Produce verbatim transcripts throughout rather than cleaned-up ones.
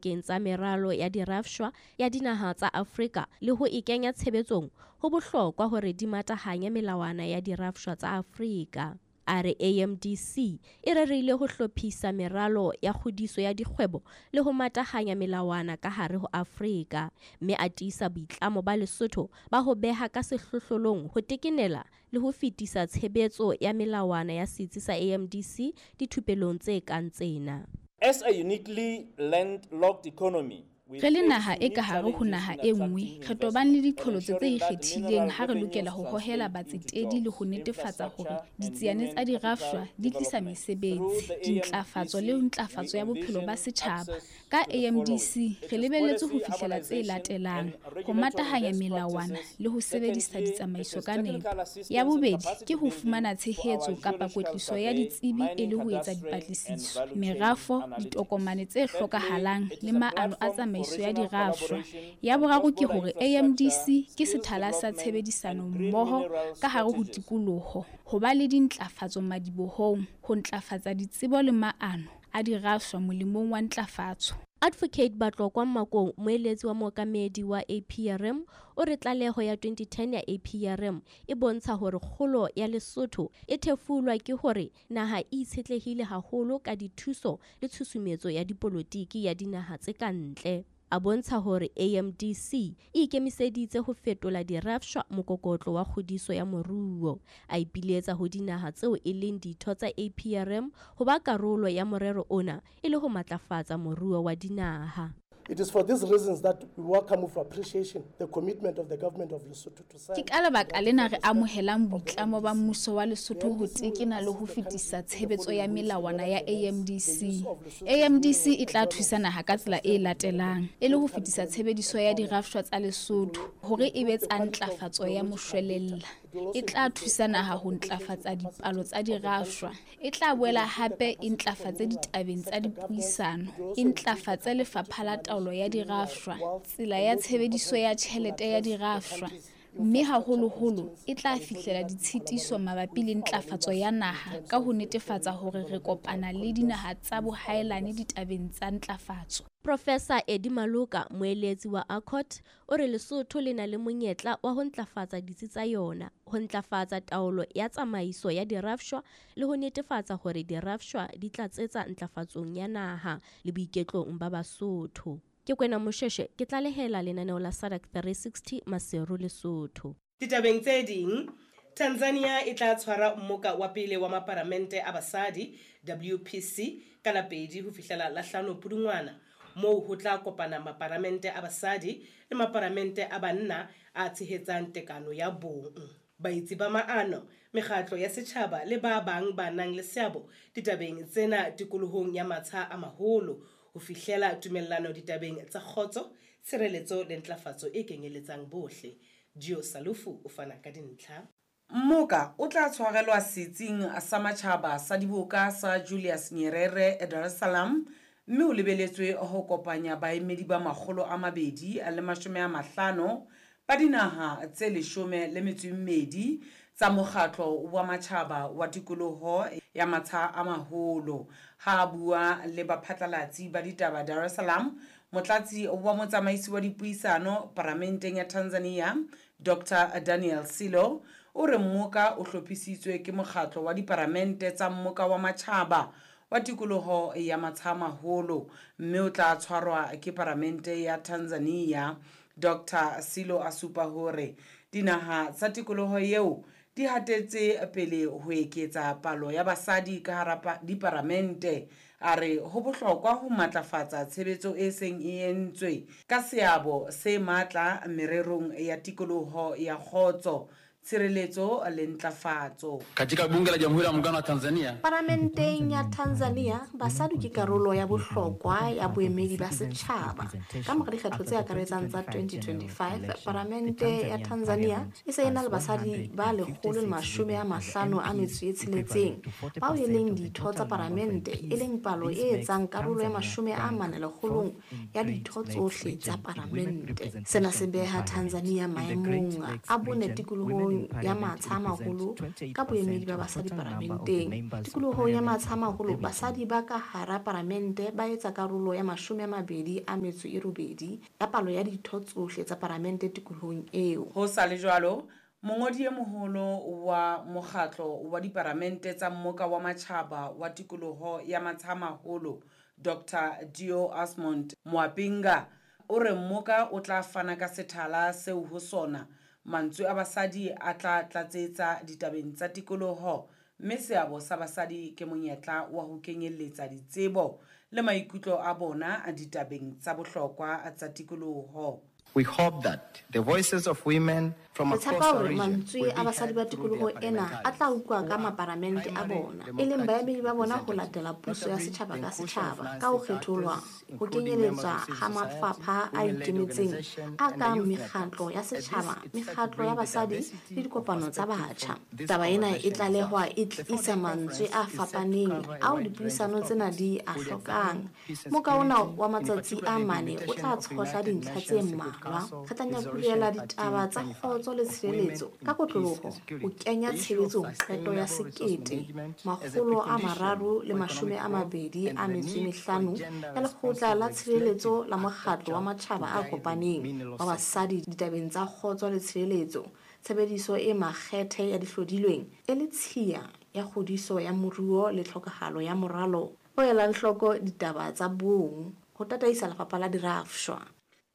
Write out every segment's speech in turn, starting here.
Pakeng tsa meralo ya dirafshwa ya dinaha tsa Afrika le ho e kenya tshebetsong, ho bohlokwa hore di matahanye melawana ya dirafshwa tsa Afrika. A re A M D C e rerile ho hlophisa meralo ya kgodiso ya dikgwebo le ho matahanya melawana ka hare ho Afrika, mme a tiisa boitlamo ba Lesotho ba ho beha ka sehlohlolong ho tekenela le ho fetisa tshebetso ya melawana ya setsi sa A M D C dithupelong tse kang tsena. As a uniquely landlocked economy, Re le naha e ka hare ho naha e nngwe, re tobane le diqholotso tse ikgethileng ha re lokela ho hohela batsetedi le ho netefatsa hore ditsiane tsa dirafshwa di tlisa mesebetsi, dintlafatso le ntlafatso ya bophelo ba setjhaba. Ka A M D C re lebelletse ho fihlella tse latelang: ho matahanya melawana le ho sebedisa ditsamaiso ka nepo. Ya bobedi ke ho fumana tshehetso kapa kwetliso ya ditsebi e le ho etsa dipatlisiso, merafo, ditokomane tse hlokahalang le maano a tsamaiso ya dirafshwa. Ya boraro ke hore A M D C ke sethala sa tshebedisano mmoho ka hare ho tikoloho, ho ba le dintlafatso madibohong, ho ntlafatsa ditsebo le maano a dirafshwa molemong wa ntlafatso. Advocate Batlokwa Makong, moeletsi wa mookamedi wa A P R M, o re tlaleho ya twenty ten ya A P R M e bontsha hore kgolo ya Lesotho e thefulwa ke hore naha e itshetlehile haholo ka dithuso le tshusumetso ya dipolotiki ya dinaha tse ka ntle. A bontsha hore A M D C e ikemiseditse ho fetola dirafshwa mokokotlo wa kgodiso ya moruo. A ipiletsa ho dinaha tseo e leng ditho tsa A P R M ho ba karolo ya morero ona e le ho matlafatsa moruo wa dinaha. It is for these reasons that we welcome with appreciation the commitment of the government of Lesotho to sign Ke ka lebaka lena re amohelang boitlamo ba mmuso wa Lesotho ho tekena le ho fetisa tshebetso ya melawana ya A M D C. A M D C e tla thusa naha ka tsela e latelang: e le ho fetisa tshebediso ya dirafshwa tsa Lesotho hore e be tsa ntlafatso ya moshwelella. E tla thusa naha ho ntlafatsa dipalo tsa dirafshwa. E tla boela hape e ntlafatse ditabeng tsa dipuisano, e ntlafatse lefapha la taolo ya dirafshwa, tsela ya tshebediso ya tjhelete ya dirafshwa, mme haholoholo e tla fihlela ditshitiso mabapi le ntlafatso ya naha ka ho netefatsa hore re kopana le dinaha tsa bohaelane ditabeng tsa ntlafatso. Professor Eddie Maloka, moeletsi wa A C O T, o re Lesotho le na le monyetla wa ho ntlafatsa ditsi tsa yona, ho ntlafatsa taolo ya tsamaiso ya dirafshwa le ho netefatsa hore dirafshwa di tlatsetsa ntlafatsong ya naha le boiketlong ba Basotho. Ke Kwena Mosheshe, ke tlalehela lenaneo la SADAG three sixty, Maseru, Lesotho. Ditabeng tse ding, Tanzania e tla tshwara mmoka wa pele wa maparamente a basadi W P C ka la pedi ho fihlela la hlano Pudungwana, moo ho tla kopana maparamente a basadi le maparamente a banna a tshehetsang tekano ya bong. Baetsi ba maano, mekgatlo ya setjhaba le ba bang ba nang le seabo ditabeng tsena tikolohong ya matsha a maholo ho fihlela tumellano ditabeng tsa kgotso, tshireletso le ntlafatso e kenyeletsang bohle. Gio Salufu o fana ka dintlha. Mmoka o tla tshwarelwa Setsing sa Matjhaba sa Diboka sa Julius Nyerere Dar es Salaam mme o lebeletswe ho kopanya baemedi ba makgolo a mabedi le mashome a mahlano ba dinaha tse leshome le metso e mmedi tsa Mokgatlo wa Matjhaba wa Tikoloho ya Matsha a Maholo. Ha a bua le baphatlalatsi ba ditaba Dar es Salaam, Motlatsi wa Motsamaisi wa Dipuisano Paramenteng ya Tanzania, Doctor Daniel Silo, o re mmoka o hlophisitswe ke Mokgatlo wa Diparamente tsa Mmoka wa Matjhaba wa Tikoloho ya Matsha a Maholo mme o tla tshwarwa ke Paramente ya Tanzania. Doctor Silo a supa hore dinaha tsa tikoloho eo di hatetse pele ho eketsa palo ya basadi ka hara diparamente. A re ho bohlokwa ho matlafatsa tshebetso e seng e entswe ka seabo se matla mererong ya tikoloho ya kgotso, tshireletso le ntlafatso. Katika Bunge la Jamhuri ya Muungano wa Tanzania, Paramenteng ya Tanzania, basadi ke karolo ya bohlokwa ya boemedi ba setjhaba. Ka mora dikgetho tse akaretsang tsa twenty twenty-five, Paramente ya Tanzania e se e na le basadi ba lekgolo le mashome a mahlano a metso e tsheletseng bao e leng ditho tsa paramente, e leng palo e etsang karolo ya mashome a mane lekgolong ya ditho tsohle tsa paramente. Sena se beha Tanzania maemong a bone tikolohong tikolohong ya Matsha a Maholo ka boemedi ba basadi paramenteng. Tikolohong ya Matsha a Maholo, basadi ba ka hara paramente ba etsa karolo ya mashome a mabedi a metso e robedi ya palo ya ditho tsohle tsa paramente tikolohong eo. Ho sa le jwalo, mongodi e moholo wa mokgatlo wa diparamente tsa Mmoka wa Matjhaba wa Tikoloho ya Matsha a Maholo, Doctor Dio Asmund Mwapinga, o re mmoka o tla fana ka sethala seo ho sona mantswe a basadi a tla tlatsetsa ditabeng tsa tikoloho, mme seabo sa basadi ke monyetla wa ho kenyelletsa ditsebo le maikutlo a bona ditabeng tsa bohlokwa tsa tikoloho. We hope that the voices of women from Re across tshepa our hore region mantswe will a be basadi heard ba through tikoloho their ena a tla parliamentarians utlwa ka who are maparamente a primary bona, e leng baemedi ba bona ho democratic latela puso ya representatives, setjhaba ka notably the setjhaba inclusion of ka ho non-state kgetholwa, actors, ho including members kenyeletswa of civil ha society, mafapha a women-led ikemetseng organizations, a and the kang youth mekgatlo networks. ya At this, setjhaba, it's set to mekgatlo bring ya the basadi diversity le of dikopano tsa perspectives batjha. from this Taba ena e conversation tlalehwa itself. e The tlisa four-day mantswe conference a is set to fapaneng cover a ao wide range of dipuisano tsena topics. di a We'll hlokang. examine peace and Moka ona security, wa in matsatsi particular a the mane o implementation tla of tshohla United dintlha tse Nations Security mmalwa. Council Re tla Resolution nyakulela ditaba tsa thirteen twenty-five kgotso le of women tshireletso in ka peace and kotloloho, ho security. kenya The issue of tshebetsong qeto ya sustainable resource sekete management as a makgolo a precondition mararo le for mashome economic a growth mabedi and a the metso e need for mehlano gender ya Lekgotla responsive la Tshireletso legislative la Mokgatlo wa architecture to Matjhaba a guide the Kopaneng mineral wa sector. Basadi ditabeng tsa kgotso le tshireletso, tshebediso e makgethe ya dihlodilweng e le tshiya ya kgodiso ya moruo le tlhokahalo ya moralo o elang hloko ditaba tsa bong ho tataisa lefapha la dirafshwa.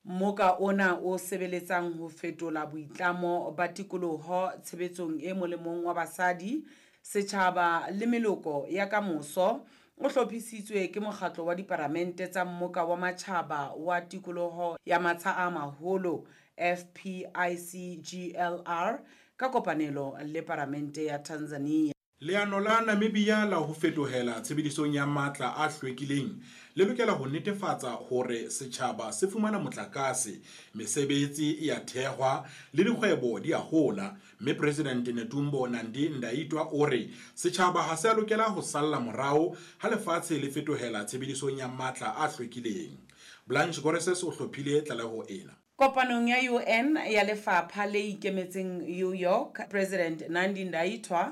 Mmoka ona o sebeletsang ho fetola boitlamo ba tikoloho tshebetsong e molemong wa basadi, setjhaba le meloko ya kamoso o hlophisitswe ke mokgatlo wa diparamente tsa Mmoka wa Matjhaba wa Tikoloho ya Matsha a Maholo F P I C G L R ka kopanelo le Paramente ya Tanzania. Leano la Namibia la ho fetohela tshebedisong ya matla a hlwekileng le lokela ho netefatsa hore setjhaba se fumana motlakase, mesebetsi e a thehwa le dikgwebo di a hola, mme President Netumbo Nandi-Ndaitwah o re setjhaba ha se a lokela ho salla morao ha lefatshe le fetohela tshebedisong ya matla a hlwekileng. Blanche Goreses o hlophile tlaleho ena. Kopanong ya U N ya lefapha le ikemetseng New York, President Nandi-Ndaitwah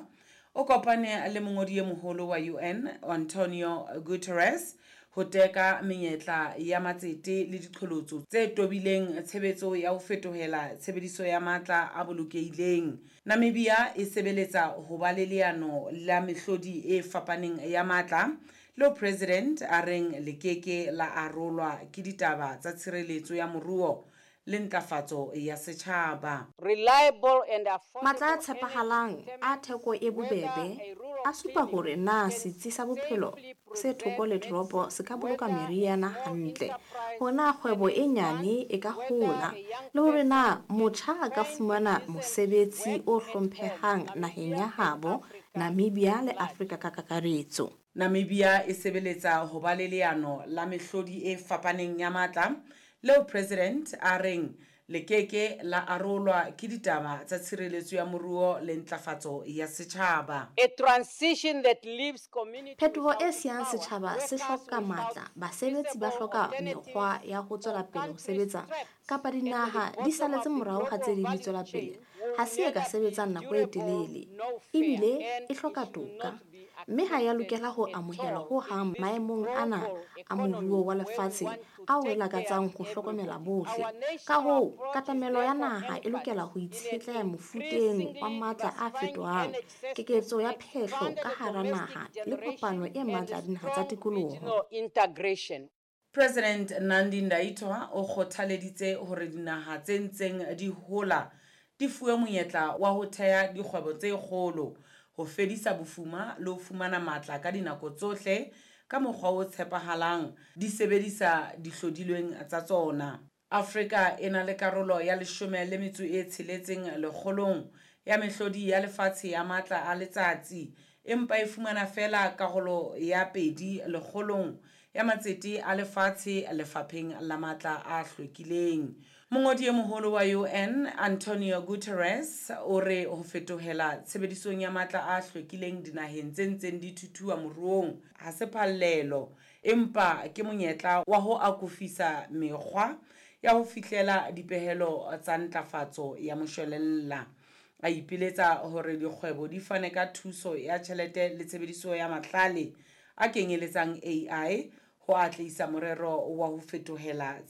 o kopane le mongodi e moholo wa U N Antonio Guterres ho teka menyetla ya matsete le diqholotso tse tobileng tshebetso ya ho fetohela tshebediso ya matla a bolokehileng. Namibia e sebeletsa ho ba le leano la mehlodi e fapaneng ya matla leo President a reng le keke la arolwa ke ditaba tsa tshireletso ya moruo le ntlafatso ya setjhaba. Reliable and affordable Matla a tshepahalang a theko e bobebe a supa hore na setsi sa bophelo se thoko le toropo se ka boloka meriana hantle, hore na kgwebo e nyane e ka hola, le hore na motjha a ka fumana mosebetsi o hlomphehang naheng ya habo, Namibia le Afrika ka kakaretso. Namibia e sebeletsa ho ba le leano la mehlodi e fapaneng ya matla leo President a reng le keke la arolwa ke ditaba tsa tshireletso ya moruo le ntlafatso ya setjhaba. A transition that leaves community Phetoho e without siyang power, setjhaba se workers hloka without matla, basebetsi ba feasible hloka alternatives mekgwa ya ho tswela or pele ho countries sebetsa trapped kapa at the dinaha di bottom saletse of the morao ha tse global ding di value tswela chain pele. will Ha se e ka neither be sebetsang nako e durable telele, nor fair, ebile and e hloka it should toka, not be mme ha ya accepted lokela ho at amohelwa all ho in hang this maemong ana global a moruo economy wa where we lefatshe want to ao re take care lakatsang of ho hlokomela everybody. bohle. Our Ka national hoo, approach is katamelo ya therefore naha e anchored lokela ho in an itshetleha mofuteng wa increasingly matla a diversifying fetohang, energy system, keketso ya phehlo expanded ka hara domestic naha le kopano generation e and matla ya dinaha tsa strong tikoloho. regional integration. President Nandi-Ndaitwah o kgothaleditse hore dinaha tse ntseng di hola di fuwe monyetla wa ho theha dikgwebo tse kgolo, ho fedisa bofuma le ho fumana matla ka dinako tsohle ka mokgwa o tshepahalang di sebedisa dihlodilweng tsa tsona. Afrika e na le karolo ya leshome le metso e tsheletseng lekgolong ya mehlodi ya lefatshe ya matla a letsatsi, empa e fumana feela karolo ya pedi lekgolong ya matsete a lefatshe lefapheng la matla a hlwekileng. Mongodi e moholo wa U N Antonio Guterres o re ho fetohela tshebedisong ya matla a hlwekileng dinaheng tse ntseng di thuthuha moruong ha se phallelo, empa ke monyetla wa ho akofisa mekgwa ya ho fihlela dipehelo tsa ntlafatso ya moshwelella. A ipiletsa hore dikgwebo di fane ka thuso ya tjhelete le tshebediso ya mahlale a kenyeletsang A I ho atlehisa morero wa ho fetohela